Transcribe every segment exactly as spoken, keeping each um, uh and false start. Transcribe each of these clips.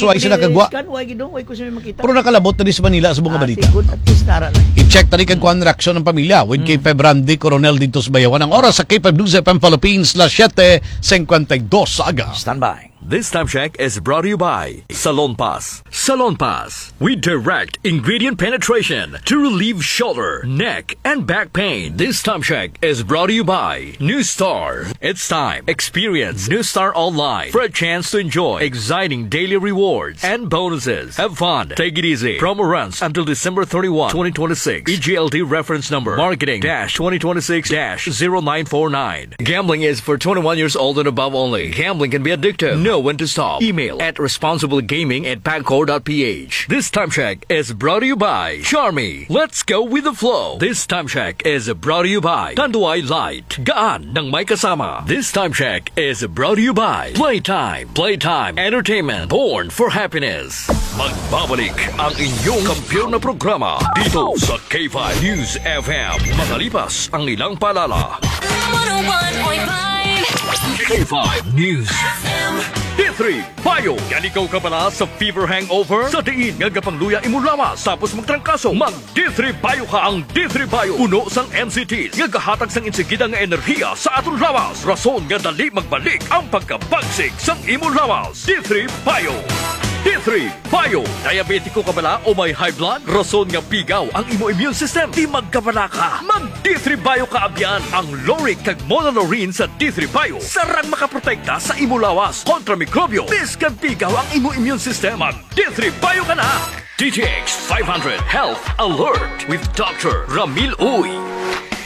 So, ay sila kagwa. Scan, why gid, no? Why ko siya makita? Pero nakalabot na di sa Manila sa mga Ah, balita. Sige, good. At least nara lang. I-check tani kag kuan reaksyon ng pamilya. With Mm. K five Randy Coronel dito sa Bayawan. Ang oras sa K five News F M Philippines, las siete cincuenta y dos sa aga. Standby. This time check is brought to you by Salon Pass. Salon Pass. We direct ingredient penetration to relieve shoulder, neck, and back pain. This time check is brought to you by New Star. It's time. Experience New Star Online for a chance to enjoy exciting daily rewards and bonuses. Have fun. Take it easy. Promo runs until December thirty-one, twenty twenty-six. E G L D reference number marketing dash twenty twenty-six dash zero nine four nine. Gambling is for twenty-one years old and above only. Gambling can be addictive. Know when to stop. Email at responsiblegaming at pagcor dot p h. This time check is brought to you by Charmy. Let's go with the flow. This time check is brought to you by Tanduay Light. Gaan ng may kasama. This time check is brought to you by Playtime. Playtime Entertainment. Born for happiness. Magbabalik ang inyong kampiyon na programa dito sa K five News F M. Makalipas ang ilang paalala. One oh one point five K five News F M. D three Bio. Yan ikaw ka bala sa fever hangover? Sa diin nga gapangluya imo lawas tapos magtrangkaso? Mag D three Bio ka. Ang D three Bio puno sang N C Ts nga gahatag sang insigida nga enerhiya sa aton lawas, rason nga dali magbalik ang pagkabagsik sang imo lawas. D three Bio. D three Bio. Diabetiko ka bala o may high blood? Rason nga pigaw ang imo immune system. Di magkabala ka. Mag D three Bio ka, abyan. Ang lauric kag monolaurin sa D three Bio sarang makaprotekta sa imo lawas kontra mikrobyo. Bisan pigaw ang imo immune system, mag D three Bio ka na. D T X five hundred Health Alert with Doctor Ramil Uy.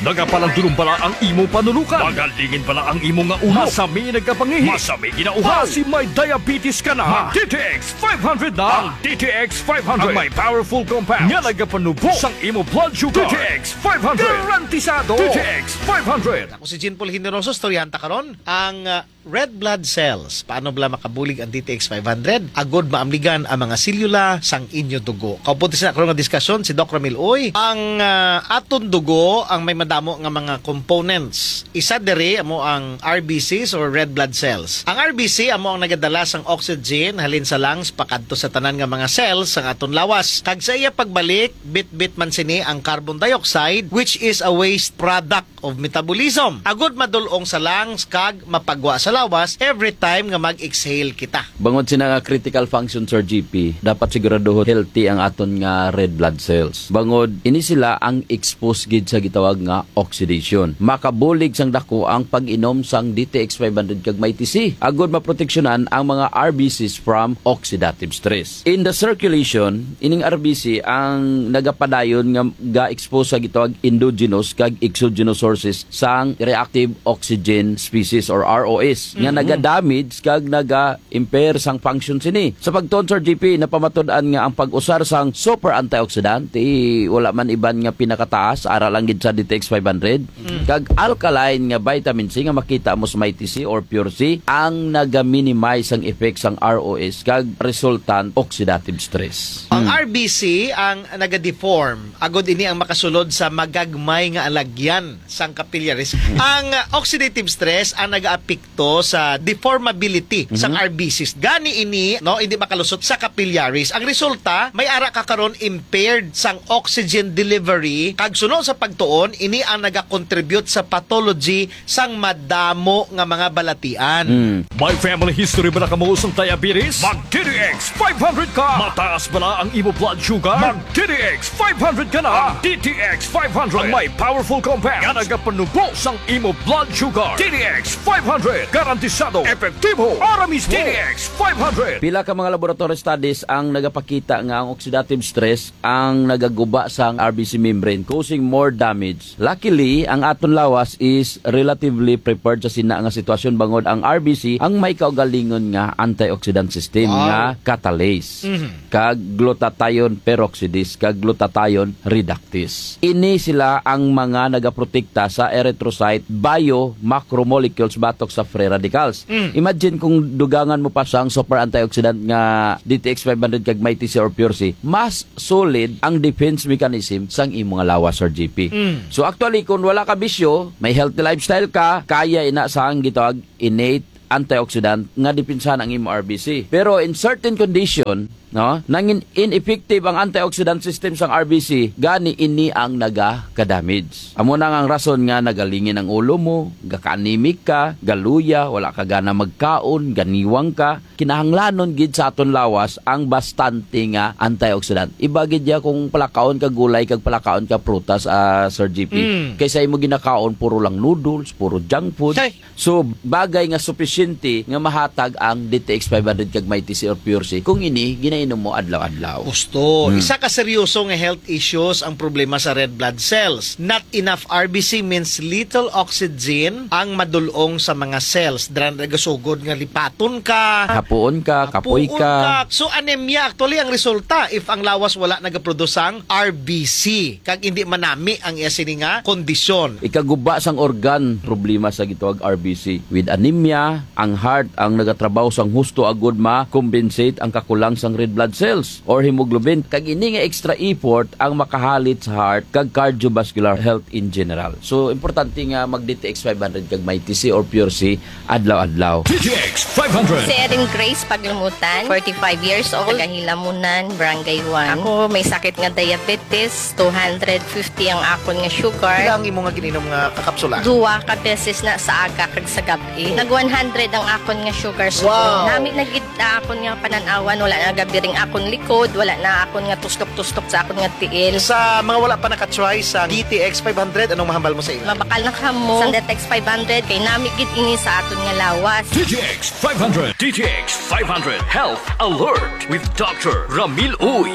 Nagapalandulong bala ang imo panulukan? Magalingin bala ang imo nga ulo? Masami nagkapangihi? Masami ginauhaw? Basi may diabetes ka na? Mag D T X five hundred na. Ang D T X five hundred ang may powerful compound nga nagapanubo sang imo blood sugar. D T X five hundred. Garantisado. D T X five hundred. Ako si Jean Paul Generoso, istoryahan ta karon ang, ah, red blood cells. Paano bala makabulig ang D T X five hundred? Agod maamligan ang mga selula sang inyo dugo. Kaupunti sa karon nga diskusyon si Doc Ramil Uy. Ang, ah, aton dugo ang may madamo nga mga components. Isa diri amo ang R B Cs or red blood cells. Ang R B C amo ang nagadala sang oxygen halin sa lungs pakadto sa tanan nga mga cells sang aton lawas. Kag sa iya pagbalik, bitbit man sini ang carbon dioxide, which is a waste product of metabolism, agud madul-ong sa lungs kag mapagwa sa lawas every time nga mag-exhale kita. Bangod sina nga critical function, Sir G P, dapat siguraduhon healthy ang aton nga red blood cells. Bangod ini sila ang expose gid sa gitawag nga oxidation. Makabulig sang dako ang pag-inom sang D T X five hundred kag Mighty C agud maproteksyonan ang mga R B Cs from oxidative stress. In the circulation, ining R B C ang nagapadayon nga ga-expose sa gitawag endogenous kag exogenous sources sang reactive oxygen species or R O S nga Mhm. naga-damage kag naga-impair sang function sini. Sa pagtuon, Sir G P, napamatud-an nga ang pag-usar sang super antioxidant, eh, wala man iban nga pinakataas, ara lang gid sa D T X five hundred, Mm. kag alkaline nga vitamin C nga makita mo sa Mighty C or Pure C, ang naga-minimize sang effect sang R O S kag resultant oxidative stress. Ang Mm. R B C ang naga-deform, agud ini ang makasulod sa magagmay nga alagyan sang capillaries. Ang, uh, oxidative stress ang nagaapekto sa deformability sang Mhm. R B Cs. Gani ini, no, hindi makalusot sa capillaries. Ang resulta, may ara ka karon impaired sang oxygen delivery, kag suno sa pagtuon, ini ang nagakontribute sa pathology sang madamo nga mga balatian. Mm. May family history bala kamo sang diabetes? Mag D T X five hundred ka. Mataas bala ang imo blood sugar? Mag D T X five hundred ka na. Ang D T X five hundred ang may powerful compound nga nagapanubo sang imo blood sugar. D T X five hundred, garantisado, epektibo, ara mismo. D T X five hundred. Pila ka mga laboratory studies ang nagapakita nga ang oxidative stress ang nagaguba sang R B C membrane, causing more damage. Luckily, ang aton lawas is relatively prepared sa sina nga sitwasyon, bangod ang R B C ang may kaugalingon nga antioxidant system Wow. nga catalase, Mhm. kag glutathione peroxidase, kag glutathione reductase. Ini sila ang mga nagaprotekta sa erythrocyte bio macromolecules batok sa free radicals. Mm. Imagine kung dugangan mo pa sang super antioxidant nga D T X five hundred kag Mighty C or Pure C, mas solid ang defense mechanism sang imo nga lawas, Sir G P. Mm. So actually, kung wala ka bisyo, may healthy lifestyle ka, kaya ina sang gitawag innate antioxidant nga depensahan ang imo R B C. Pero in certain condition, no, nangin ineffective ang antioxidant system sang R B C, gani ini ang naga-damage. Amo na nga ang rason nga nagalingin ang ulo mo, gaka-anemic ka, galuya, wala ka gana magkaon, ganiwang ka. Kinahanglanon gid sa aton lawas ang bastante nga antioxidant. Iba gid ya kung palakaon ka gulay kag palakaon ka prutas, ah, Sir G P. Mm. Kaysa imo ginakaon puro lang noodles, puro junk food. Ay! So, bagay nga supisyente nga mahatag ang D T X five hundred kag Mighty C or Pure C kung ini ginainom mo adlaw-adlaw. Gusto. Hmm. Isa ka seryoso nga health issues ang problema sa red blood cells. Not enough R B C means little oxygen ang madulong sa mga cells. Dira na gasugod nga lipaton ka. Hapuon ka, kapoy Hapuon ka. ka. So, anemia, actually, ang resulta if ang lawas wala nagaproduce sang R B C. Kag hindi manami ang iya sini nga kondisyon. Ikaguba sang organ, problema sa gitawag R B C. With anemia, ang heart ang nagatrabaho sang husto agud ma-compensate ang kakulang sang red blood cells or hemoglobin. Kag ini nga extra effort ang makahalit sa heart kag cardiovascular health in general. So, importante nga mag D T X five hundred kag Mighty C or Pure C adlaw-adlaw. D T X five hundred. Si Erin Grace Paglumutan, forty-five years old, taga Hilamunan, Barangay one. Ako may sakit nga diabetes, two hundred fifty ang akon nga sugar. Pila ang imo nga gininom nga kakapsula? Duwa ka beses na sa aga kag sa gab-i. Nag one hundred ang akon nga sugar sa Wow! Nami na gid na akon nga panan-awan, wala na gabiring akon likod, wala na akon nga tustok-tustok sa akon nga tiil. Sa mga wala pa naka-try sa D T X five hundred, anong mahambal mo sa ila? Mabakal na kamo sa D T X five hundred, kay nami gid ini sa aton nga lawas. D T X five hundred. D T X five hundred Health Alert with Doctor Ramil Uy.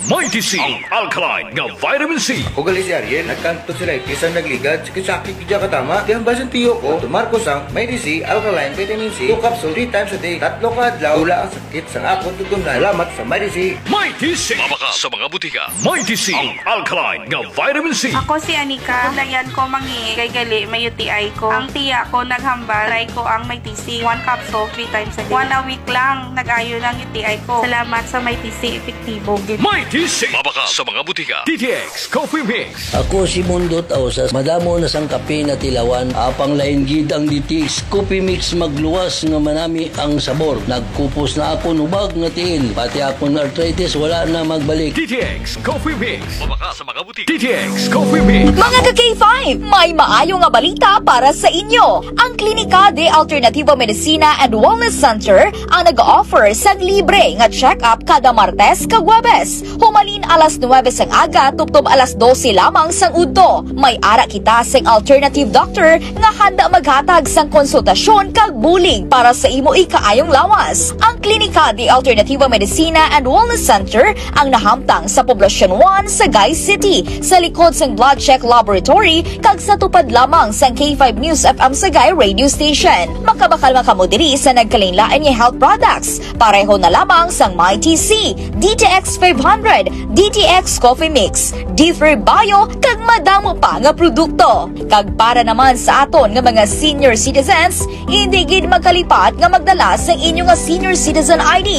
Mighty C, ang alkaline nga vitamin C. Ako gali si Ariel, nagkanto sila itis ang nagligad, sakit-sakit gid katama. Di ang basin tiyo ko, tumar ko sang Mighty C, alkaline vitamin C, two capsule, three times a day. Tatlo ka adlaw, wala ang sakit sang akon tutunlan. Salamat sa Mighty C. Mighty C. Mabakal sa mga butika. Mighty C, ang alkaline nga vitamin C. Ako si Anika. Layan ko mangi kay gali may U T I ko. Ang tiya ko naghambal, try ko ang Mighty C. One capsule, three times a day. One a week lang, nag-ayo na ang U T I ko. Salamat sa Mighty C, epektibo gid. Mighty C. Mabakal sa mga butika. D T X Coffee Mix. Ako si Mundo Tausas. Madamo na sang kape na tilawan. Apang lain gid ang D T X Coffee Mix magluwas nga manami ang sabor. Nagkupos na akon hubag nga tiil. Pati akon arthritis wala na magbalik. D T X Coffee Mix. Mabakal sa mga butika. D T X Coffee Mix. Mga ka-K five, may maayo nga balita para sa inyo. Ang Klinika de Alternativo Medicina and Wellness Center ang nag-offer sang libre nga check-up kada Martes kag Huwebes, humalin alas nuwebe sang aga tubtob alas dose lamang sang udto. May ara kita sing alternative doctor nga handa maghatag sang konsultasyon kag bulig para sa imo ikaayong lawas. Ang Klinika de Alternativo Medicina and Wellness Center ang nahamtang sa Poblacion one, Sagay City, sa likod sang Blood Check Laboratory kag sa tupad lamang sang K five News F M Sagay Radio Station. Makabakal man kamo diri sa nagkalainlain nga health products, pareho na lamang sang Mighty C, D T X five hundred, D T X Coffee Mix, Differ Bio, kag madamo pa nga produkto. Kag para naman sa aton nga mga senior citizens, hindi gid magkalipat nga magdala sang inyo nga senior citizen I D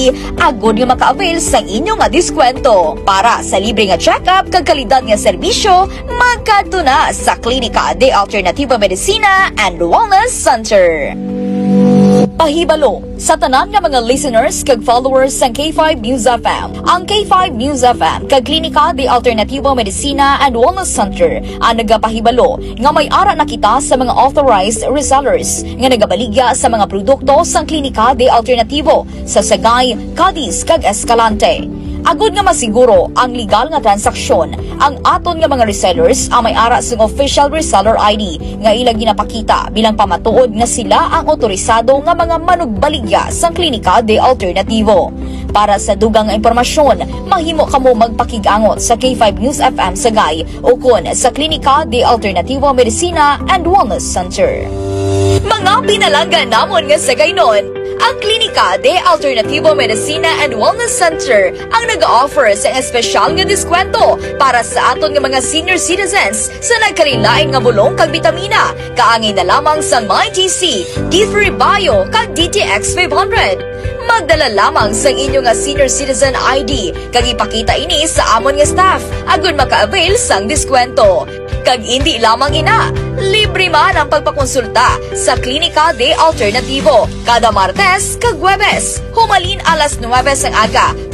agod nga maka-avail sang inyo nga diskwento. Para sa libre nga check-up kag kalidad nga serbisyo, magkadto na sa Klinika de Alternativo Medicina and Wellness Center. Pahibalo sa tanan nga mga listeners kag followers sang K five News F M. Ang K five News F M kag Klinika de Alternativo Medicina and Wellness Center ang nagapahibalo nga may ara na kita sa mga authorized resellers nga nagabaligya sa mga produkto sang Klinika de Alternativo sa Sagay, Cadiz, kag Escalante. Agud nga masiguro ang legal nga transaksyon, ang aton nga mga resellers ang may ara sang official reseller I D nga ila ginapakita bilang pamatuod nga sila ang otorisado nga mga manugbaligya sang Klinika de Alternativo. Para sa dugang nga impormasyon, mahimo kamo magpakig-angot sa K five News F M Sagay ukon sa Klinika de Alternativo Medicina and Wellness Center. Mga pinalangga namon nga Sagaynon, ang Klinika de Alternativo Medicina and Wellness Center ang nag-offer sa espesyal nga diskwento para sa aton nga mga senior citizens sa nagkalainlain nga bulong kag bitamina, kaangay na lamang sa Mighty C, D three Bio, kag D T X five hundred. Magdala lamang sang inyo nga senior citizen I D kag ipakita ini sa amon nga staff agud maka-avail sang diskwento. Kag indi lamang ina, libre man ang pagpakonsulta sa Klinika de Alternativo kada Martes kag Huwebes, humalin alas nuwebe sang aga